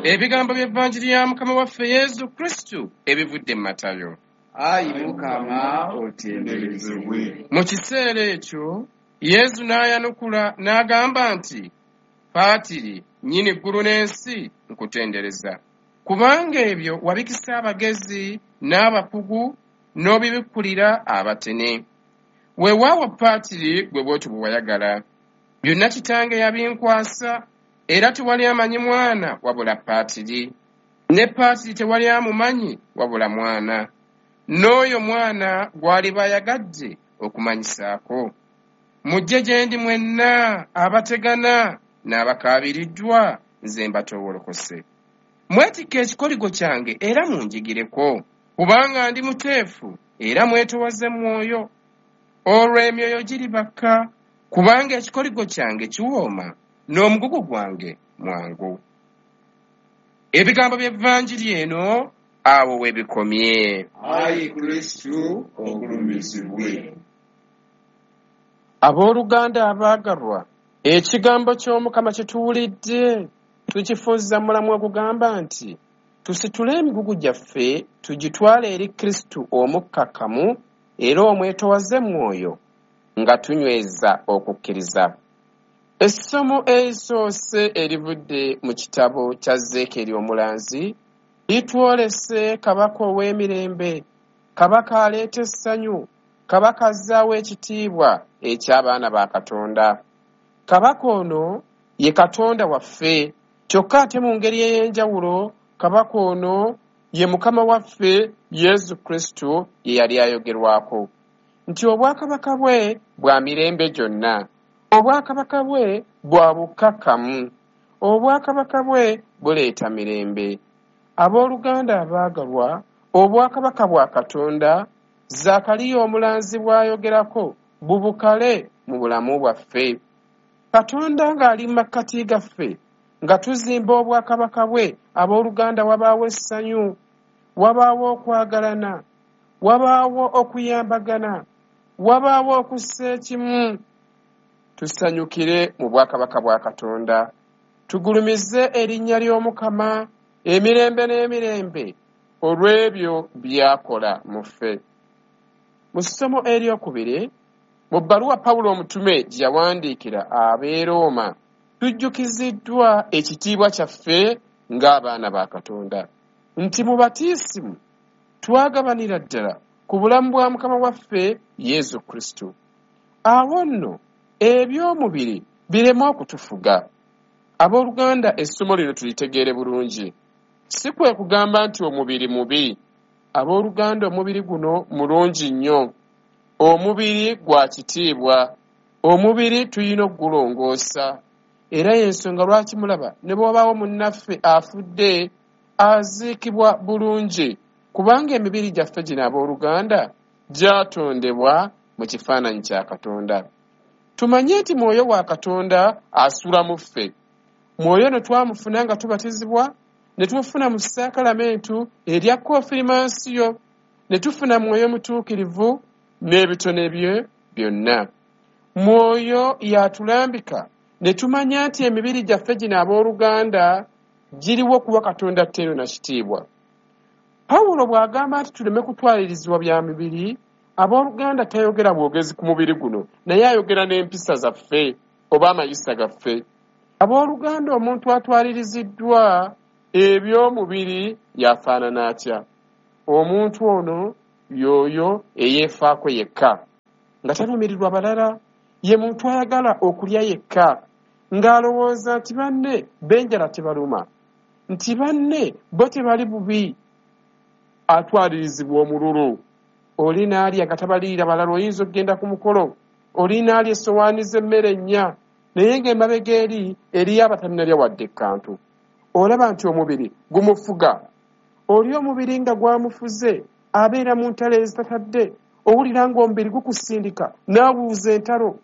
Ebigambo by'Evanjiri ya Mukama waffe Yesu Kristu ebivudde mu Matayo. Ayi Mukama otenderezebwe. Mu kiseera ekyo Yesu n'ayanukula n'agamba nti, Paatiri, nnyini ggulu n'ensi, nkutendereza. Kubanga ebyo wabikisa abagezi n'abakugu n'obibikkulira abatene. Weewaawo Paatiri gwe bw'otyo bwe wayagala. Byonna Kitange yabinkwasa, era tewali amanyi mwana wabula Paatiri. Ne Paatiri tewali amumanyi wabula mwana. N'oyo mwana gw'aliba ayagadde okumanyisaako. Mujje gye ndi mwenna abategana n'abakaabiriddwa, nze mbatoowolokose. Mwetikke ekikoligo kyange era munjigireko, kubanga ndi muteefu era mwetowaze mwoyo. Olwo emyoyo giribakka, kubanga ekikoligo kyange kiwooma n'omugugu gwange mwangu. Ebigambo by'Evanjiri eno awo we bikomye. Ayi Kristu ogulumizibwe. Abooluganda abaagalwa, ekigambo ky'Omukama kye tuwulidde tukifunza mulamu ogugamba nti tusitule emigugu gyaffe tugitwale eri Kristu omukkakkamu era omwetowaze mwoyo nga tunyweza okukkiriza. Essomo erisoose erivudde mu kitabo kya Zeekeri omulanzi litwolese kabaka ow'emirembe, kabaka aleeta essanyu, kabaka azzaawo ekitiibwa eky'abaana ba Katonda. Kabaka ono ye Katonda waffe, kyokka ate mu ngeri ey'enjawulo kabaka ono ye Mukama waffe Yesu Kristu ye yali ayogerwako nti obwakabaka bwe bwa mirembe gyonna, obwakabaka bwe bwa bukkakkamu, obwakabaka bwe buleeta mirembe. Abooluganda abaagalwa, obwakabaka bwa Katonda Zaakaliya omulanzi bw'ayogerako bubukale mu bulamu bwaffe. Katonda ng'ali mu makkati gaffe nga tuzimba obwakabaka bwe, abooluganda wabaawo essanyu, wabaawo okwagalana, wabaawo okuyambagana, wabaawo okussa ekimu. Tusanyukire mu bwakabaka bwa Katonda, tugulumize erinnya ly'Omukama emirembe n'emirembe olw'ebyo by'akola mu ffe. Mu ssomo eryokubiri, mu bbaluwa Pawulo omutume gye yawandiikira ab'e Rooma, tujjukiziddwa ekitiibwa kyaffe ng'abaana ba Katonda, nti mu batiisimu twagabanira ddala ku bulamu bwa Mukama waffe Yesu Kristo. Awo nno eby'omubiri bireme okutufuga. Abooluganda, essomo lino tulitegeere bulungi. Si kwe kugamba nti omubiri mubi. Abooluganda, omubiri guno mulungi nnyo. Omubiri gwa kitiibwa. Omubiri tulina okugulongoosa. Era y'ensonga lwaki mulaba ne bw'obaawo munnaffe afudde aziikibwa bulungi, kubanga emibiri gyaffe gino abooluganda gyatondebwa mu kifaananyi kya Katonda. Tumanye nti mwoyo wa Katonda asula mu ffe. Mwoyo no twamufuna nga tubatizibwa, ne tumufuna mu saakalamentu erya konfirimansiyo, ne tufuna mwoyo mutuukirivu n'ebitone bye byonna. Mwoyo yatulambika ne tumanya nti emibiri gyaffe gino abooluganda giriwo kuwa Katonda ttendo na kitiibwa. Pawulo bw'agamba nti tuleme kutwalirizibwa bya mibiri, abooluganda tayogera bwogezi ku mubiri guno, naye ayogera n'empisa zaffe oba amayisa gaffe. Abooluganda, omuntu atwaliriziddwa eby'omubiri yafaanana atya? Omuntu ono y'oyo eyeefaako yekka, nga talumirirwa balala. Ye muntu ayagala okulya yekka, ng'alowooza nti banne b'enjala tebaluma, nti banne bo tebali bubi. Atwalirizibwa omululu. Oli n'alya nga tabalirira balala. Oyinza okugenda ku mukolo, oli n'alya essowaani z'emmere nnya, naye ng'emabega eri eriyo abatannalya wadde ekkantu. Olaba nti omubiri gumufuga. Oli omubiri nga gwamufuze abeera mu ntalo ezitatadde. Owulira ng'omubiri gukusindika n'awuuza entalo.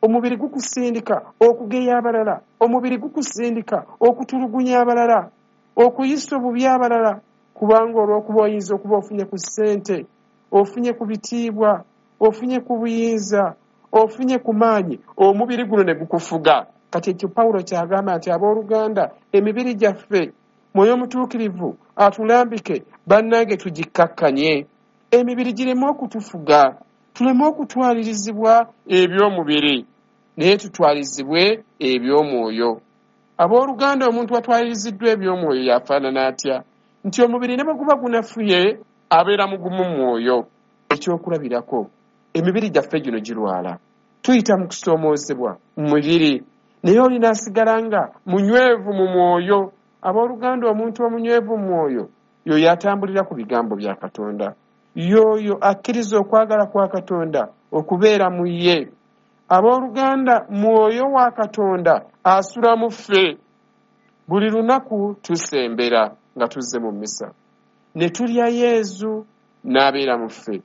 Omubiri gukusindika okugeya abalala. Omubiri gukusindika okutulugunya abalala, okuyisa obubi abalala, kubanga olw'okuba oyinza okuba ofunye ku ssente, ofunye ku bitiibwa, ofunye ku buyinza, ofunye ku maanyi, omubiri guno ne gukufuga. Kati ekyo Pawulo ky'agamba nti abooluganda, emibiri gyaffe Mwoyo Mutuukirivu atulambike, bannange tugikkakkanye. Emibiri gireme okutufuga, tuleme okutwalirizibwa eby'omubiri, naye tutwalizibwe eby'omwoyo. Abooluganda, omuntu atwaliriziddwa eby'omwoyo yafaanana atya? Nti omubiri ne bwe guba gunafuye, abeera mugumu mu mwoyo. Ekyokulabirako, emibiri gyaffe gino girwala, tuyita mu kusoomoozebwa mu mubiri, naye oli n'asigala nga munywevu mu mwoyo. Abooluganda, omuntu omunywevu mu mwoyo y'oyo atambulira ku bigambo bya Katonda, y'oyo akkiriza okwagala kwa Katonda okubeera mu ye. Abooluganda, mwoyo wa Katonda asula mu ffe. Buli lunaku tusembera nga tuzze mu mmisa, ne tulya Yezu n'abeera mu ffe.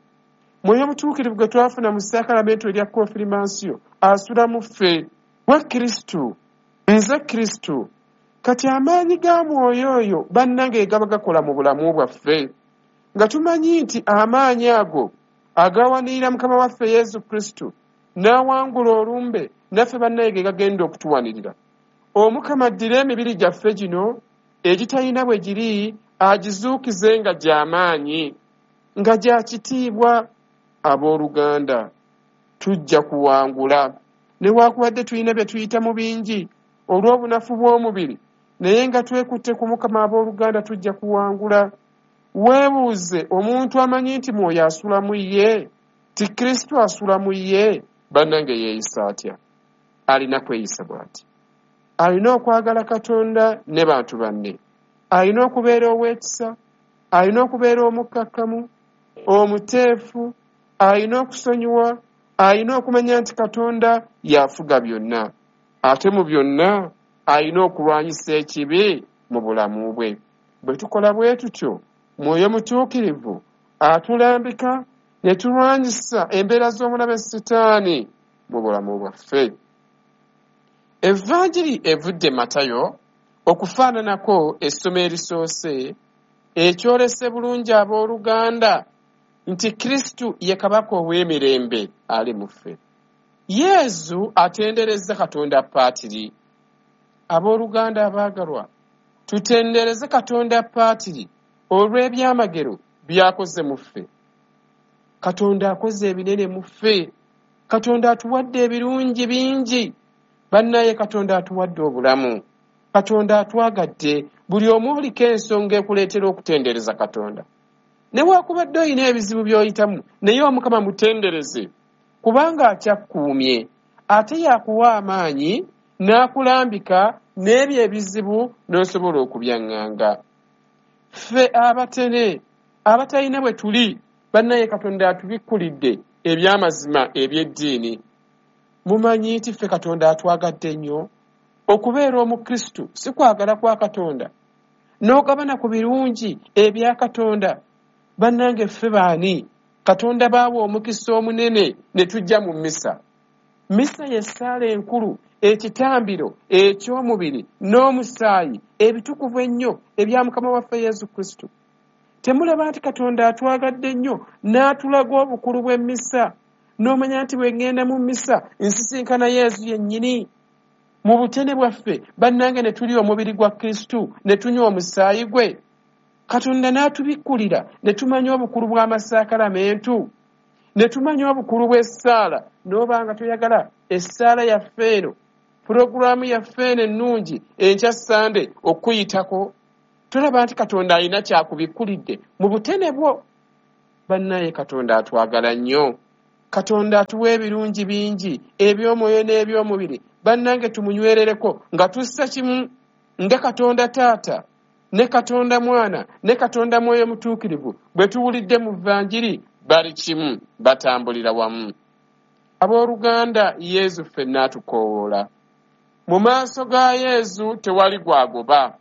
Mwoyo Mutuukirivu gwe twafuna mu ssaakalamento erya konfirimansiyo asula mu ffe. Gwe Kristu, nze Kristu. Kati amaanyi ga mwoyo oyo bannange gaba gakola mu bulamu bwaffe, nga tumanyi nti amaanyi ago agawanirira Mukama waffe Yesu Kristu n'awangula olumbe, naffe bannange ge gagenda okutuwanirira. Omukama addire emibiri gyaffe gino egitalina bwe giri, agizuukize nga gy'amaanyi, nga gya kitiibwa. Abooluganda, tujja kuwangula. Newaakubadde tulina bye tuyitamu bingi olw'obunafu bw'omubiri, naye nga twekutte ku Mukama, abooluganda, tujja kuwangula. Weebuuze omuntu amanyi nti mwoyo asula mu ye, ti Kristo asula mu ye, bannange yeeyisa atya? Alina kweyisa bw'ati. Alina okwagala Katonda ne bantu banne. Alina okubeera ow'ekisa, alina okubeera omukkakkamu, omuteefu, alina okusonyiwa, alina okumanya nti Katonda y'afuga byonna. Ate mu byonna alina okulwanyisa ekibi mu bulamu bwe. Bwe tukola bwe tutyo, Mwoyo Mutuukirivu atulambika ne tulwanyisa embeera z'omulabe Sitaani mu bulamu bwaffe. Evanjiri evudde Matayo okufaananako essomo erisoose, ekyolese bulungi abooluganda nti Kristu ye Kabaka ow'emirembe ali mu ffe. Yezu atenderezza Katonda Paatiri. Abooluganda abaagalwa, tutendereze Katonda Paatiri olw'ebyamagero by'akoze mu ffe. Katonda akoze ebinene mu ffe. Katonda atuwadde ebirungi bingi. Bannaye Katonda atuwadde obulamu. Katonda atwagadde. Buli omu oliko ensonga ekuleetera okutendereza Katonda. Newaakubadde olina ebizibu by'oyitamu, naye Omukama mutendereze, kubanga akyakkuumye. Ate yakuwa amaanyi n'akulambika n'ebyo ebizibu n'osobola okubyaŋŋanga. Ffe abatene abatalina bwe tuli, bannaye Katonda atubikkulidde eby'amazima eby'eddiini. Mumanyi nti ffe Katonda atwagadde nnyo. Okubeera Omukristu si kwagala kwa Katonda, n'ogabana ku birungi ebya Katonda. Bannange ffe baani? Katonda baawa omukisa omunene ne tujja mu mmisa. Mmisa y'essaala enkulu, ekitambiro eky'omubiri n'omusaayi ebitukuvu ennyo ebya Mukama waffe Yesu Kristo. Temulaba nti Katonda atwagadde nnyo n'atulaga obukulu bw'emmisa, n'omanya nti bwe ŋŋenda mu mmisa nsisinkana Yesu yennyini. Mu butene bwaffe bannange ne tulya omubiri gwa Kristo ne tunywa omusaayi gwe. Katonda n'atubikkulira ne tumanya obukulu bw'amasakalamentu, ne tumanya obukulu bw'essaala. N'oba nga toyagala essaala yaffe eno, pulogulaamu yaffe eno ennungi enkya Ssande okuyitako, tolaba nti Katonda alina kyakubikkulidde mu butene bwo. Bannaye Katonda atwagala nnyo. Katonda atuwa ebirungi bingi eby'omwoyo n'eby'omubiri. Bannange tumunywerereko nga tussa kimu nga Katonda Taata ne Katonda Mwana ne Katonda Mwoyo Mutuukirivu bwe tuwulidde mu Vanjiri, bali kimu, batambulira wamu. Abooluganda, Yezu ffenna atukoowoola. Mu maaso ga Yezu tewali gwagoba.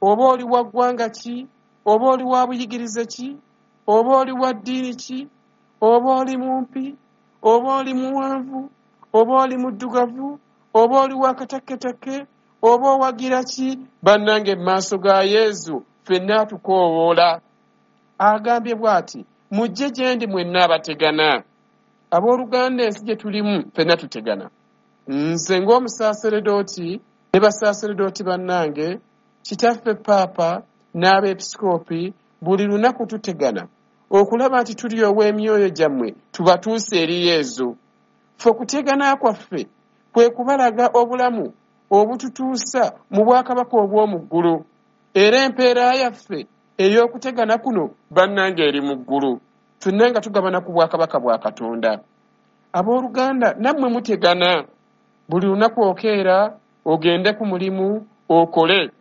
Oba oli wa ggwanga ki, oba oli wa buyigirize ki, oba oli wa ddiini ki, oba oli mumpi, oba oli muwanvu, oba oli muddugavu, oba oli wa katakketakke, oba owagira ki, bannange mu maaso ga Yezu ffenna atukoowoola. Agambye bw'ati, mujje gye ndi mwenna abategana. Abooluganda, ensi gye tulimu ffenna tutegana. Nze ng'omusaaseredooti ne basaaseredooti bannange, Kitaffe Paapa n'abeepisikoopi buli lunaku tutegana okulaba nti tulyowa emyoyo gyammwe tubatuuse eri Yezu. Ffe okutegana kwaffe kwe kubalaga obulamu obututuusa mu bwakabaka obw'omu ggulu. Era empeera yaffe ey'okutegana kuno bannange eri mu ggulu. Ffenna nga tugabana ku bwakabaka bwa Katonda. Abooluganda nammwe mutegana. Buli lunaku okeera ogende ku mulimu okole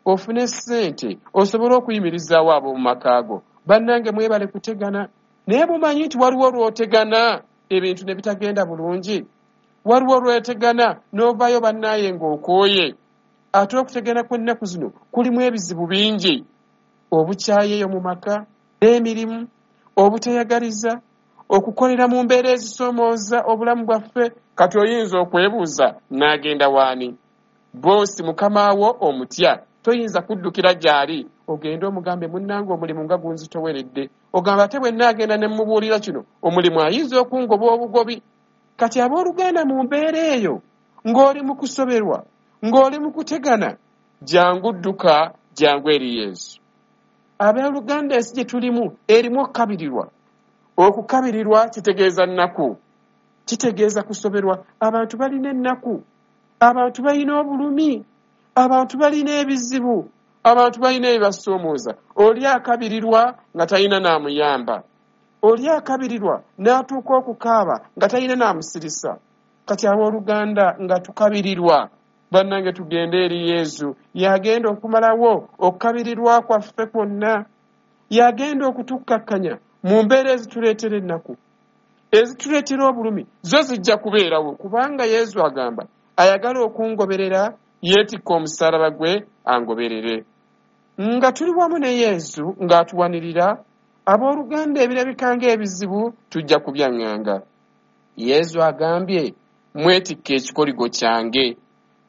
ofune ssente osobole okuyimirizaawo ab'omu maka go. Bannange mwebale kutegana. Naye mumanyi nti waliwo lw'otegana ebintu ne bitagenda bulungi. Waliwo lw'otegana n'ovaayo bannaaye ng'okooye. Ate okutegana kw'ennaku zino kulimu ebizibu bingi. Obukyayi eyo mu maka, n'emirimu, obutayagaliza, okukolera mu mbeera ezisoomooza obulamu bwaffe. Kati oyinza okwebuuza n'agenda waani? Boosi mukamaawo omutya, toyinza kuddukira gy'ali ogende omugambe munnange omulimu nga gunzitoweredde. Ogamba ate bwe nnaagenda ne mmubuulira kino omulimu ayinza okungoba obugobi. Kati abooluganda mu mbeera eyo ng'oli mu kusoberwa, ng'oli mu kutegana, jangu dduka, jangu eri Yesu. Abooluganda ensi gye tulimu erimu okukabirirwa. Okukabirirwa kitegeeza nnaku, kitegeeza kusoberwa. Abantu balina ennaku, abantu balina obulumi, abantu balina ebizibu, abantu balina ebibasoomooza. Oli akabirirwa nga talina n'amuyamba, oli akabirirwa n'atuuka okukaaba nga talina n'amusirisa. Kati abooluganda nga tukabirirwa, bannange tugende eri Yesu. Y'agenda okumalawo okukabirirwa kwaffe kwonna, y'agenda okutukkakkanya mu mbeera ezituleetera ennaku, ezituleetera obulumi. Zo zijja kubeerawo kubanga Yesu agamba ayagala okungoberera yeetikka omusaalaba gwe angoberere. Nga tuli wamu ne Yesu ng'atuwanirira, abooluganda ebirabika ng'ebizibu tujja kubyaŋŋanga. Yesu agambye mwetikka ekikoligo kyange.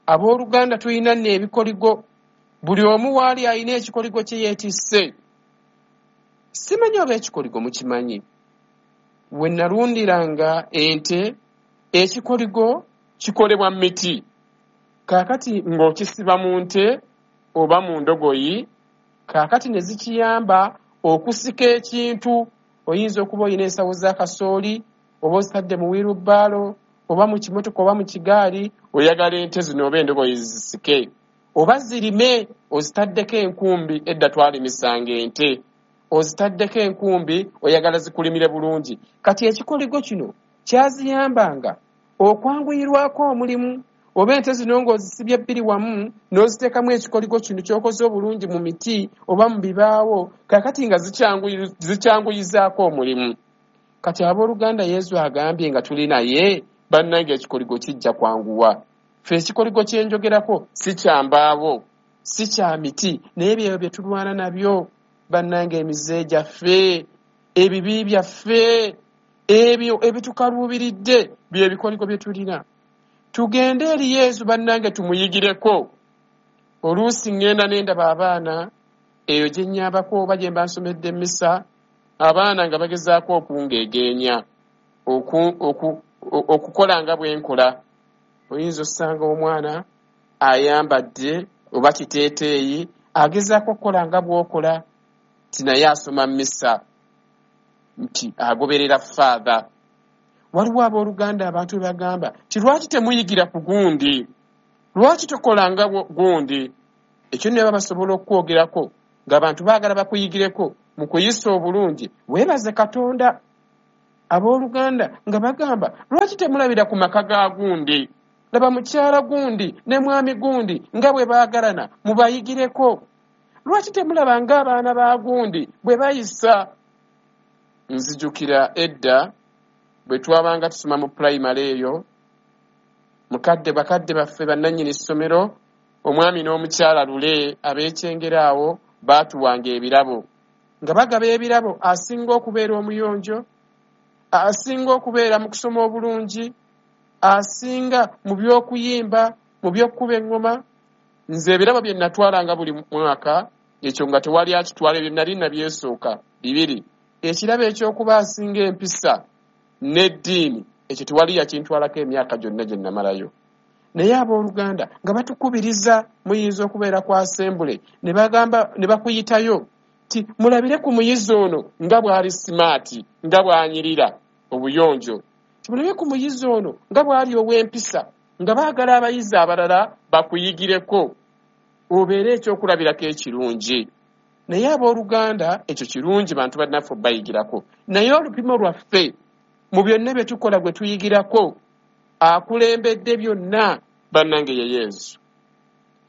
Abooluganda tulina nno ebikoligo, buli omu waali alina ekikoligo kye yeetisse. Simanyi oba ekikoligo mukimanyi. We nalundiranga ente, ekikoligo kikolebwa mu miti. Kaakati ng'okisiba mu nte oba mu ndogoyi, kaakati ne zikiyamba okusika ekintu. Oyinza okuba olina ensawo za kasooli oba ozitadde mu wirubaalo oba mu kimotoka oba mu kigaali, oyagala ente zino oba endogoyi zisike oba zirime, ozitaddeko enkumbi. Edda twalimisanga ente, ozitaddeko enkumbi oyagala zikulimire bulungi. Kati ekikoligo kino kyaziyambanga okwanguyirwako omulimu. Oba ente zino ng'ozisibye bbiri wamu n'oziteekamu ekikoligo kino ky'okoze obulungi mu miti oba mu bibaawo, kaakati nga zikyanguyizaako omulimu. Kati abooluganda Yesu agambye nga tuli naye, bannange ekikoligo kijja kwanguwa. Ffe ekikoligo kye njogerako si kya mbaawo, si kya miti, naye byebyo bye tulwana nabyo. Bannange emize gyaffe, ebibi byaffe, ebyo ebitukaluubiridde bye bikoligo bye tulina. Tugende eri Yesu bannange tumuyigireko. Oluusi ŋŋenda ne ndaba abaana eyo gye nnyambako oba gye mba nsomedde emmisa, abaana nga bagezaako okungeegeenya, okukola nga bwe nkola. Oyinza osanga omwana ayambadde oba kiteeteeyi agezaako okukola nga bw'okola, nti naye asoma mmisa, nti agoberera Faatha. Waliwo abooluganda abantu be bagamba nti lwaki temuyigira ku gundi, lwaki tokola nga gundi. Ekyo nno baba basobola okukwogerako ng'abantu baagala bakuyigireko mu kuyisa obulungi. Weebaze Katonda. Abooluganda nga bagamba lwaki temulabira ku maka ga gundi, laba mukyala gundi ne mwami gundi nga bwe baagalana, mubayigireko. Lwaki temulaba ng'abaana ba gundi bwe bayisa. Nzijukira edda bwe twabanga tusoma mu pulayimale eyo, mukadde bakadde baffe bannannyini ssomero, omwami n'omukyala Lule ab'ekyengera awo baatuwanga ebirabo. Nga bagaba ebirabo asinga okubeera omuyonjo, asinga okubeera mu kusoma obulungi, asinga mu by'okuyimba, mu by'okkuba eŋŋoma. Nze ebirabo bye natwalanga buli mwaka, ekyo nga tewali akitwala, ebyo nali nabyesooka bibiri. Ekirabo eky'okuba asinga empisa n'eddiini, ekyo tewali yakintwalako emyaka gyonna gye namalayo. Naye abooluganda nga batukubiriza, muyinza okubeera ku asembule ne bagamba ne bakuyitayo ti mulabire ku muyizi ono nga bw'ali simaati, nga bw'anyirira obuyonjo, timulabe ku muyizi ono nga bw'ali ow'empisa, nga baagala abayizi abalala bakuyigireko obeere ekyokulabirako ekirungi. Naye abooluganda ekyo kirungi bantu bannaffe bayigirako, naye olupimo lwaffe mu byonna bye tukola gwe tuyigirako akulembedde byonna bannange ye Yesu,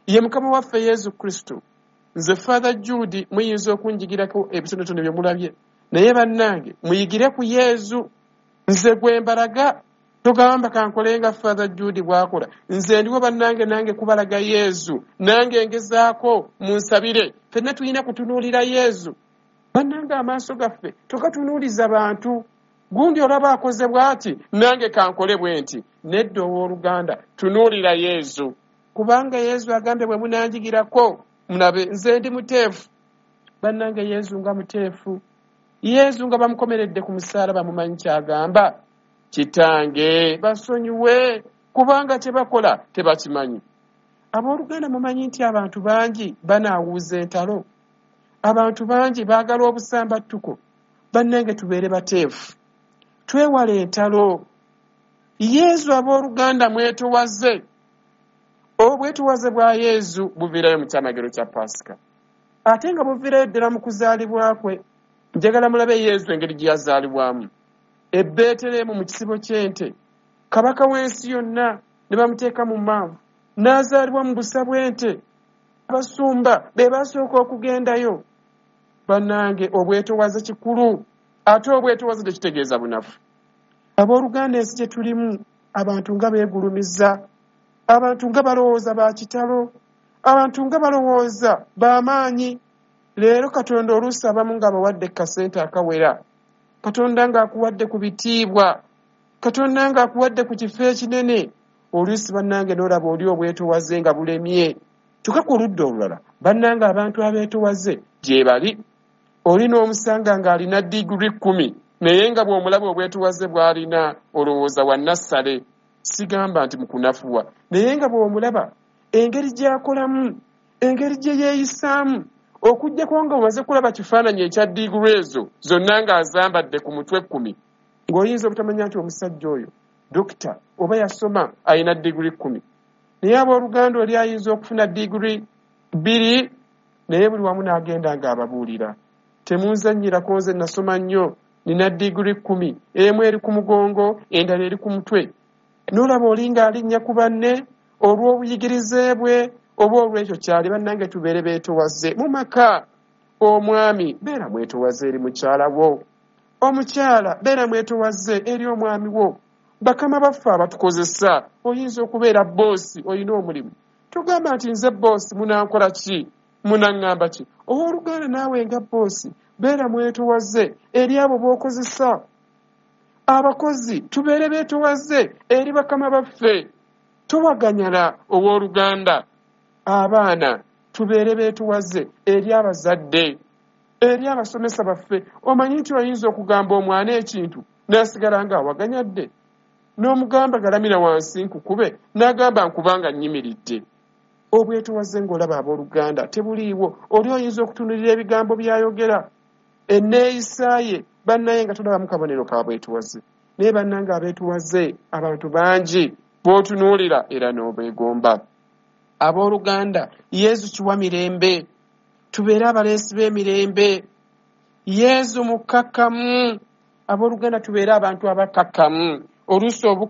ye Mukama waffe Yesu Kristo. Nze Father Jude muyinza okunjigirako ebitonotono bye mulabye, naye bannange muyigire ku Yesu. Nze gwe mbalaga, togamba kankole nga Father Jude bw'akola. Nze ndiwo bannange nange kubalaga Yesu, nange ngezaako, munsabire. Ffenna tulina kutunuulira Yesu. Bannange amaaso gaffe togatunuuliza bantu. Gundi olaba akoze bw'ati, nange kankole bwe nti. Nedda owooluganda, tunuulira Yesu, kubanga Yesu agambye bwe munanjigirako munabe nze ndi muteefu. Bannange Yesu nga muteefu. Yesu nga bamukomeredde ku musaalaba mumanyi ky'agamba? Kitange basonyiwe kubanga kye bakola tebakimanyi. Abooluganda mumanyi nti abantu bangi banaawuuza entalo, abantu bangi baagala obusambattuko. Bannange tubeere bateefu, twewale entalo. Yesu abooluganda mwetowaze. Obwetowaze bwa Yesu buviirayo mu kyamagero kya Paasika, ate nga buviirayo ddala mu kuzaalibwa kwe. Njagala mulabe Yesu engeri gye yazaalibwamu e Beeterehemu mu kisibo ky'ente, kabaka w'ensi yonna ne bamuteeka mu maavu, n'azaalibwa mu busa bw'ente. Abasumba be basooka okugendayo. Bannange obwetowaze kikulu, ate obwetowaze tekitegeeza bunafu. Abooluganda ensi gye tulimu abantu nga beegulumiza, abantu nga balowooza ba kitalo, abantu nga balowooza b'amaanyi. Leero Katonda oluusi abamu ng'abawadde kasente akawera, Katonda ng'akuwadde ku bitiibwa, Katonda ng'akuwadde ku kifo ekinene, oluusi bannange n'olaba oli obwetowaze nga bulemye. Kyokka ku ludda olulala bannange abantu abeetowaze gye bali. Oli n'omusanga ng'alina diguri 10, naye nga bw'omulaba obwetowaze bw'alina olowooza wa nassale. Sigamba nti mukunafuwa, naye nga bw'omulaba engeri gy'akolamu, engeri gye yeeyisaamu, okuggyako nga omaze kulaba kifaananyi ekya diguri ezo zonna ng'azambadde ku mutwe 10, ng'oyinza obutamanya nti omusajja oyo dokita oba yasoma alina diguri 10. Naye abooluganda oli ayinza okufuna diguri 2, naye buli wamu n'agenda ng'ababuulira. Temunzannyirako, nze nasoma nnyo, nina diguri 10, emu eri ku mugongo, endala eri ku mutwe. N'olaba oli ng'alinnya ku banne olw'obuyigirize bwe oba olw'ekyo kyali. Bannange tubeere beetowaze mu maka. Omwami beera mwetowaze eri mukyala wo, omukyala beera mwetowaze eri omwami wo. Bakama baffe abatukozesa, oyinza okubeera boosi olina omulimu, togamba nti nze boosi munankola ki, munaŋŋamba ki. Owooluganda naawe nga boosi beera mwetowaze eri abo b'okozesa. Abakozi tubeere beetowaze eri bakama baffe, towaganyala owooluganda. Abaana tubeere beetowaze eri abazadde, eri abasomesa baffe. Omanyi nti oyinza okugamba omwana ekintu n'asigala ng'awaganyadde, n'omugamba galamira wansi nkukube, n'agamba nkubanga nnyimiridde. Obwetowaze ng'olaba abooluganda tebuliiwo. Oli oyinza okutunuulira ebigambo by'ayogera, enneeyisa ye, bannaye nga tolabamu kabonero ka bwetowaze. Naye bannange abeetowaze abantu bangi b'otunuulira era n'obeegomba. Abooluganda Yesu kiwa mirembe, tubeere abaleesi b'emirembe. Yesu mukkakkamu. Abooluganda tubeere abantu abakkakkamu. Oluusi